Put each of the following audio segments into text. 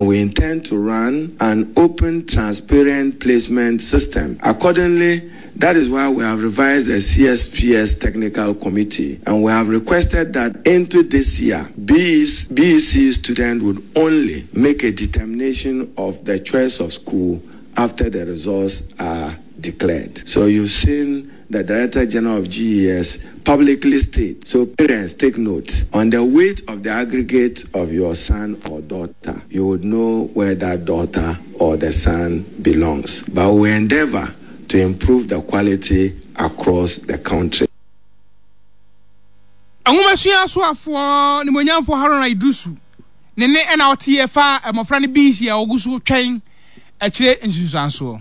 We intend to run an open, transparent placement system. Accordingly, that is why we have revised the CSPS Technical Committee and we have requested that into this year, BEC students would only make a determination of the choice of school after the results are declared. So you've seen the Director General of GES publicly state. So parents take note. On the weight of the aggregate of your son or daughter, you would know where that daughter or the son belongs. But we endeavor to improve the quality across the country. Nwomasua asoafoɔ Nimonyamfoɔ Haruna Iddrisu ne ne ɛna ɔteɛ fa mmɔfra no BEC a wɔgu so twɛn akyire nsunsuansoɔ.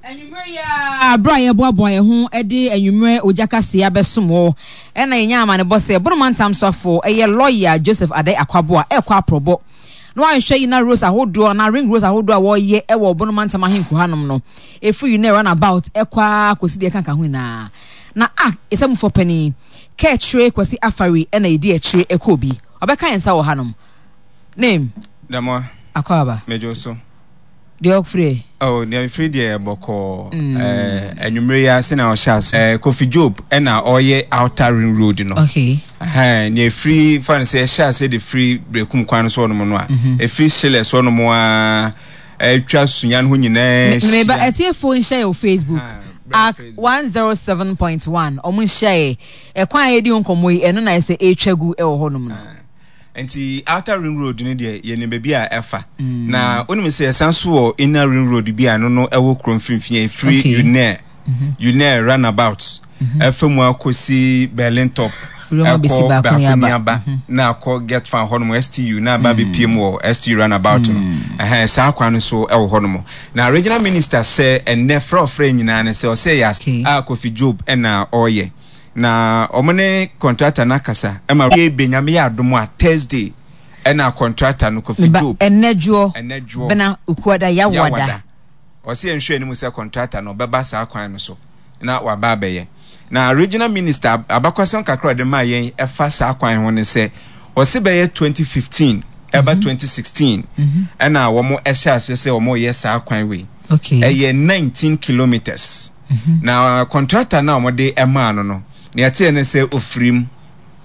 Anwummerɛ yi ara, berɛ a yɛreboaboa yɛn ho de anwummerɛ ogya kaseɛ abɛsom wo, ɛna yɛnya amanebɔ sɛ Bono Mantam soafoɔ, ɛyɛ Lɔya Joseph Adai Akwaboah ɛrekɔ aprɔbɔ na wanhwɛ yi na roads ahodoɔ anaa ring roads ahodoɔ a wɔreyɛ wɔ Bono Mantam ahenku hanom no, ɛfiri Unɛ runabout ɛkɔ ara kɔsi deɛ ɛkanka ho nyinaa. Na a ɛsɛmufoɔ panin, Kɛkyire Kwasi Afari ɛna ɛdi akyire ɛkɔɔ bi. Ɔbɛka yɛn nsa wɔ hanom. Name. Damoa. Akwaaba. Medwo wo so. Deɛ ɔfiri ɛ? Oh, deɛ mefiri deɛ bɔkɔɔ. Mm. Eh, anwummere yi ase na ɔhyɛ ase. Eh, Kofi Job ɛna ɔyɛ Outer Ring Road no. Okay. Ɛhɛn, nea efiri fa no sɛ ɛhyɛ ase de firi Berekum kwan no so ɔnom no a, mm-hmm. efiri Hyelɛ so ɔnom a atwa Sunya no ho nyinaa hyia. Meba atiefo nhyɛ yɛ wɔ Facebook. Ak 107.1 ɔmo nhyɛ yɛ. Ɛkwan a yɛdi ho nkɔmmɔ yi ɛno na ɛsɛ ɛretwa gu ɛwɔ hɔnom no. Ah. Nti outer ring road no deɛ yɛnim baabi a ɛfa. Mm. Na wonim sɛ yɛsan so wɔ inner ring road bi a ɛno no ɛwɔ kuro mfimfini ɛfiri okay. UNER mm -hmm. UNER runabout mm-hmm. ɛfa mu akɔsi Berlin top ɛkɔ Baako-Niaba mm-hmm. na akɔ get fan hɔnom STU na aba mm. bɛpie mu wɔ STU runabout no mm. ɛhɛn saa kwan no so ɛwɔ hɔnom na regional minister sɛ ɛnnɛ frɛ ɔfrɛ nyinaa no sɛ ɔsɛ yɛ a Kofi Job ɛna ɔreyɛ Na wɔn ne kɔntrata no akasa ma. Yei Nyame yɛ adom a Thursday ɛna kɔntrata no Kofi Meba Job. ɛnɛ dwoɔ, Ɛnɛ dwoɔ. bena, Okuada, Yawada. Yawada. Ɔse yɛnhwɛ anim sɛ kɔntrata no ɔbɛba saa kwan no so na waba abɛyɛ. Na Regional Minister abakwasɛm kakra a ɔde maa yɛn ɛfa saa kwan ho ne sɛ ɔse bɛyɛ 2015 ɛba 2016 ɛna wɔn ɛhyɛ aseɛ sɛ wɔn reyɛ saa kwan wei. Okay. Ɛyɛ 19 kilometres. Na kɔntrata no a wɔde maa no no, nea ɛteɛ ne sɛ ofirim.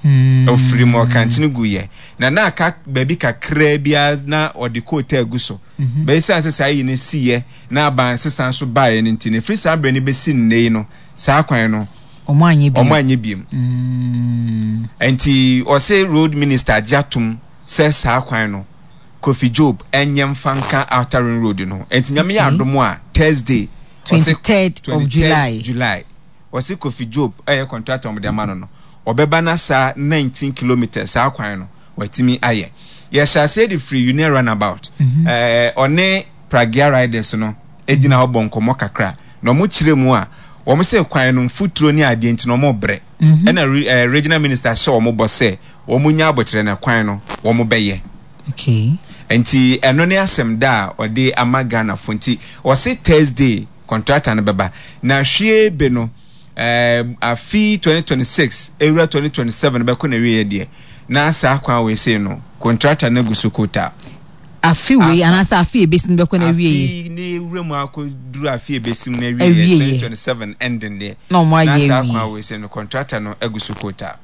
Hmm. Ofirim ɔkankyene gu yɛ. Na na aka baabi kakraa biara na ɔde kootaa gu so. Mhm. Bɛyɛ sɛ saa yi no siyɛ na aban sesa nso baeɛ no nti no, ɛfiri saa berɛ no bɛsi nnɛ yi no, saa kwan no, ɔmo anyɛ biem. Ɔmo anyɛ biem. Mm. Nti ɔse road minister agye atom sɛ saa kwan no Kofi Job ɛnyɛ mfa nka Outer Ring Road no ho. Nti Nyame yɛ adom a Thursday 23rd of July. July. Ɔse Kofi Job ɛyɛ contractor ɔmo de ama no no ɔbɛba na saa 19 kilometres saa kwan no watumi ayɛ. Yɛhyɛ aseɛ de firi Union Runabout. Mhm. Ɛɛ ɔne Pragya Riders no egyina hɔ bɔ nkɔmɔ kakra na ɔmo kyerɛ mu a wɔn sɛ kwan no mfuturo ne adeɛ nti na ɔmo brɛ. Mhm. Ɛna ɛɛ regional minister hyɛ wɔn bɔ sɛ wɔn nya abotrɛ na kwan no wɔn bɛyɛ. Okay. Nti ɛno ne asɛm da a ɔde ama Ghana fo nti ɔse Thursday contractor no bɛba na hwie be no eh, afi 2026 ewura 2027 bɛkɔ na wieɛ deɛ na saa kwan wei sei no contractor no agu so kota. Afi wei anaasɛ afi ebesi no bɛkɔ na wieɛ. Afi ne wura mu akɔ duru afi ebesi mu na wieɛ 2027 ending deɛ na ɔmo ayɛ na saa kwan wei sei no contractor no agu so kota.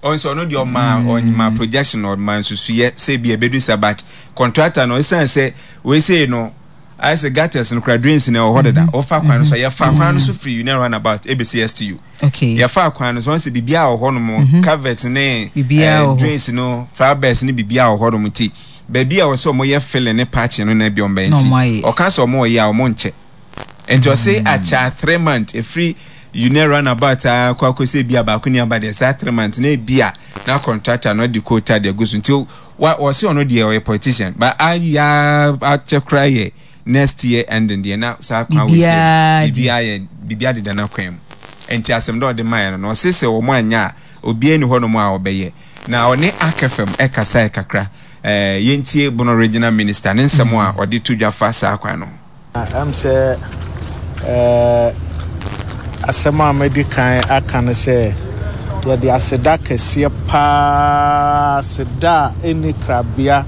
Ɔn sɛ ɔno deɛ ɔma ɔma projection ɔma nsusuyɛ sɛ ebi ebedu sa but contractor no esan sɛ wei sei no ayɛ sɛ gutters no kora drains no ɛwɔ hɔ deda mhm. ɔfa kwan no so mhm. yɛfa kwan no so firi union runabout ebesi stu okay yɛfa kwan no so ɔn sɛ biribiara wɔ hɔ nom mhm. covert ne eh, drains no flowers ne biribiara wɔ hɔ nom ti baabi a wɔsɛ wɔn yɛ filling ne patching no na ebi wɔn bɛn ti ɔka sɛ wɔn yɛ a wɔn nkyɛ. Nti ɔse akyɛ a 3 month ɛfiri Unɛ run about aa kɔ akɔsi ebi a baako ni aba deɛ saa 3 months na ebi a na contractor no de quota de agu so nti wa ɔse ɔno deɛ ɔyɛ politician but aya akyɛ koraa yɛ next year ending deɛ na saa kwan wei sɛ biribiara yɛ biribiara deda n'akwan mu nti asɛm dɛ ɔde maayɛ no na ɔse sɛ wɔn anya a obiara ni hɔnom a ɔbɛyɛ na ɔne Akfm ɛkasae kakra ɛɛ yɛntie Bono Regional Minister ne nsɛm a ɔde to dwa fa saa kwan no ho. Ɛm sɛ asɛm a madi kan aka no sɛ yɛde aseda kɛseɛ paa, aseda a ɛnni krabea.